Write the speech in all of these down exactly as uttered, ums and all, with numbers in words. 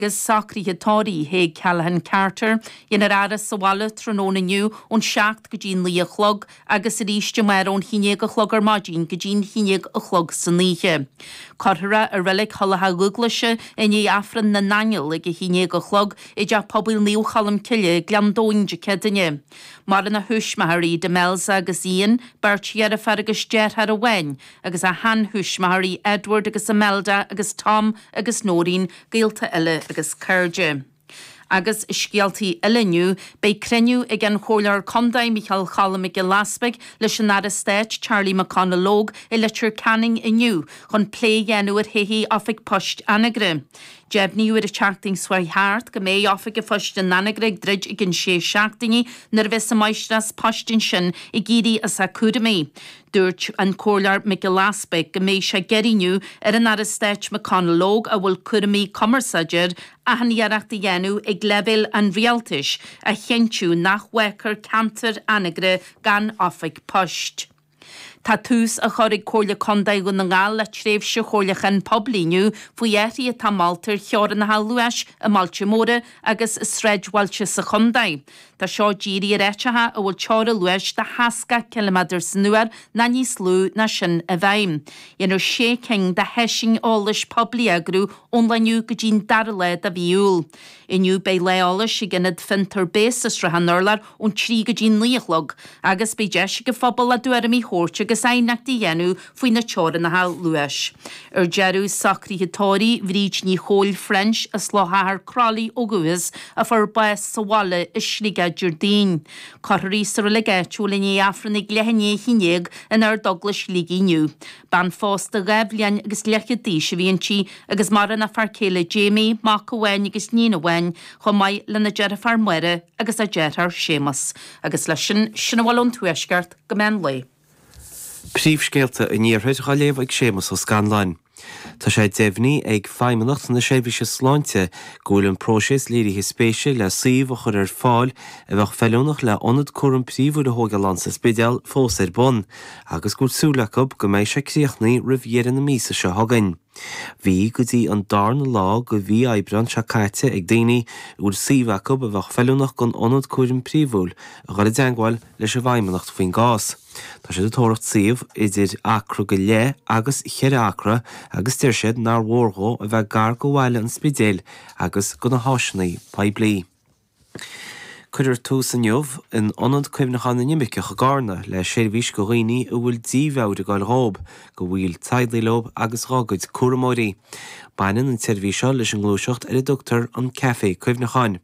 Agus socruithe tórraimh Thaidhg Callahan Carter, déanfar a fhaire sa bhaile tráthnóna inniu ón seacht go dtí naoi a chlog agus arís amárach ón haon déag a chlog ar maidin go dtí'n haon déag a chlog san oíche. Cuirfear é i Reilig Thulach Dhúglaise i ndiaidh Aifreann na nAingeal ag a haon déag a chlog i dTeach Pobail Naomh Cholm Cille, Gleann Domhain Dé Céadaoine. Maireann a thuismitheoirí Demelza agus Ian, beirt dheirféar agus deartháir amháin, agus a sheanthuismitheoirí Edward agus Imelda agus Tom agus Noreen, gaolta eile agus cairde. Agus scéaltaí eile inniu, beidh cruinniú ag an Chomhairleoir Contae Micheál Choilm Mac Giolla Easpaig leis an Aire Stáit Charlie McConalogue i Leitir Ceanainn inniu chun plé a dhéanamh ar thodhchaí Oifig Poist Anagaire. Deimhníodh ar an tseachtain seo chuaigh thart go mbeidh Oifig an Phoist in Anagaire ag druid i gcionn sé seachtaine nuair a bheas an máistreás poist ansin ag éirí as a cúraimí. Dúirt an Comhairleoir Mac Giolla Easpaig go mbeidh sé ag iarraidh inniu ar an Aire Stáit McConalogue, a bhfuil cúraimí cumarsáide air, achan iarracht a dhéanamh ag leibhéal an rialtais a chinntiú nach bhfágfar ceantar Anagaire gan oifig poist. Tá tús á chur ag Comhairle Contae Dhún na nGall le tréimhse chomhairliúcháin poiblí inniu faoi athruithe atá molta ar theorainneacha luais i mbailte móra agus i sráidbhailte sa chontae. Tá seo dírithe ar áiteacha a bhfuil teora luais de sheasca ciliméadar san uair nó níos lú ná sin i bhfeidhm. Déanfar sé cinn de sheisiúin eolais poiblí a eagrú ón lá inniu go dtí'n dara lá de mhí Iúil. Inniu beidh lá eolais ag Ionad Fiontar Béas i Sruthán Urláir ón trí go dtí naoi a chlog agus beidh deis ag an phobal a dtuairimí a thabhairt agus aighneachtaí a dhéanamh faoi na teorainneacha luais. Ar deireadh, socruithe tórraimh Bhríd Ní Chóil French as Loch Achair Crolly ó dhúchas a fuair bás sa bhaile i Sligeach Déardaoin. Cuirfear í sa reilig áitiúil i ndiaidh Aifreann ag leath i ndiaidh a haon déag in Ardeaglais Shligigh inniu. Bean phósta dhá bhliain agus leathchéad d'aois a bhí inti agus maireann a fear céile Jamie, mac amháin agus níon amháin, chomh maith lena deirfiúr Máire agus a deartháir Séamus. Agus leis sin, sin a bhfuil ón Tuaisceart go meán lae. Príomhscéalta an Iarthair á léamh ag Séamus Ó Scanláin. Tá sé deimhnithe ag Feidhmeannacht na Seirbhíse Sláinte go bhfuil an próiseas léirithe spéise le suíomh a chur ar fáil a bheadh feiliúnach le ionad cúraim príomhúil a thógáil ann sa Spidéal fós ar bun agus go bhfuil súil acu go mbeidh sé críochnaithe roimh dheireadh na míosa seo chugainn. Bhí go dtí an darna lá de mhí Aibreáin seo caite ag daoine a bhfuil suíomh acu a bheadh feiliúnach don ionad cúraim príomhúil a dhul i dteangmháil leis an bhFeidhmeannacht faoin gcás. Tá siad ag tóracht suíomh idir acra go leith agus cheithre acra agus deir siad nár mhór dhó a bheith gar go bhaile an Spidéil agus go na háiseanna poiblí. Cuirfear tús inniu in Ionad Cuimhneacháin na nImirceach i gCarna le seirbhís do dhaoine a bhfuil dímheabhair ag goil dhóib, do bhaill teaghlaigh leo agus dhá gcuid cúramóirí. Baineann an tseirbhís seo leis an ngluaiseacht ar a dtugtar an Café Cuimhneacháin.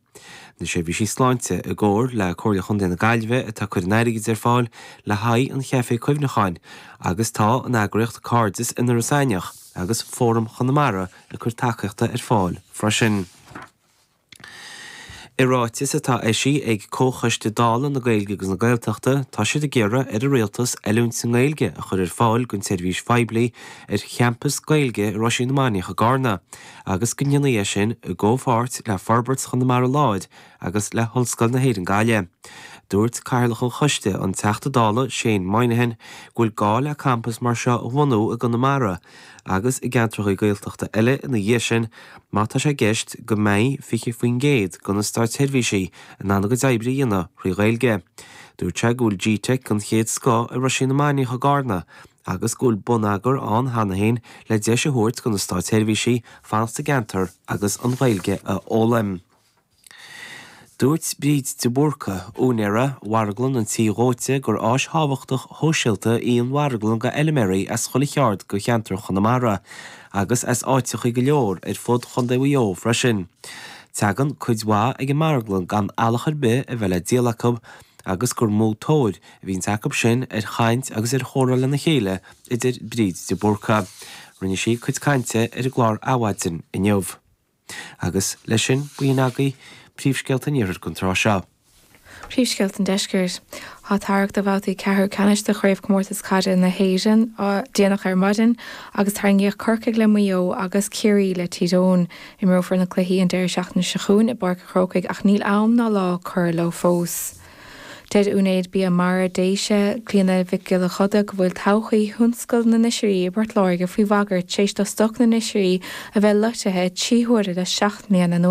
Na seirbhísí sláinte i gcomhar le Comhairle Chontae na Gaillimhe atá ag cur an airgid ar fáil le haghaidh an Chaifé Cuimhneacháin agus tá an eagraíocht Cairdeas in Iorras Aithneach agus Fóram Chonamara ag cur tacaíochta ar fáil freisin. I ráiteas atá eisithe ag Comhchoiste Dála na Gaeilge agus na Gaeltachta, tá siad ag iarraidh ar an Rialtas oiliúint sa nGaeilge a chur ar fáil don tseirbhís phoiblí ar champas Gaeilge i Roisín na Mainiach i gCarna agus go ndéanfaí é sin i gcomhpháirt le Forbairt Chonamara Láir agus le hOllscoil na hÉireann Gaillimh. Dúirt Cathaoirleach an Choiste, an Teachta Dála Shane Moynihan, go bhfuil gá le campas mar seo a bhunú i gConamara agus i gceantracha Gaeltachta eile ina dhiaidh sin má tá sé i gceist go mbeidh fiche faoin gcéad de na státseirbhísigh in ann a gcuid oibre a dhéanamh thrí Ghaeilge. Dúirt sé go bhfuil G-Teic den chéad scoth i Roisín na Mainiach i gCarna agus go bhfuil bonneagar ann cheana féin le deis a thabhairt do na státseirbhísigh fanacht sa gceantar agus an Ghaeilge a fhoghlaim. Dúirt Bríd de Búrca, úinéara Mharglann an Tí Dhóite, gur áis thábhachtach shóisialta í an mharglann do fheilméaraí as chuile cheard de cheantar Chonamara agus as áiteachaí go leor ar fud Chontae Mhaigh Eo freisin. Tagann cuid mhaith ag an marglann gan eallach ar bith a bheith le díol acu agus gur mó tóir a bhíonns acu sin ar chaint agus ar chomhrá lena chéile, a deir Bríd de Búrca. Rinne sí cuid cainte ar an gclár Adhmhaidin inniu. Agus leis sin, b'in agaibh príomhscéalta an Iarthair don tráth seo. Príomhscéalta an Deiscirt. Tá tarrac do bhabhtaí ceathrú ceannais de Chraobhchomórtas Caide na hÉireann déanach ar maidin agus tarraingíodh Corcaigh le Maigh Eo agus Ciarraí le Tír Eoghain. Imreofar na cluichí an deireadh seachtaine seo chugainn i bPáirc an Chrócaigh ach níl am ná lá curtha leo fós. Deir úinéir Bia Mara Déise, Clíona Mhic Giolla Choda, go bhfuil todhchaí thionscal na n-oisrí i bPort Láirge faoi bhagairt tar éis do stoc na n-oisrí a bheith loitithe trí huaire le seacht mbliana anuas.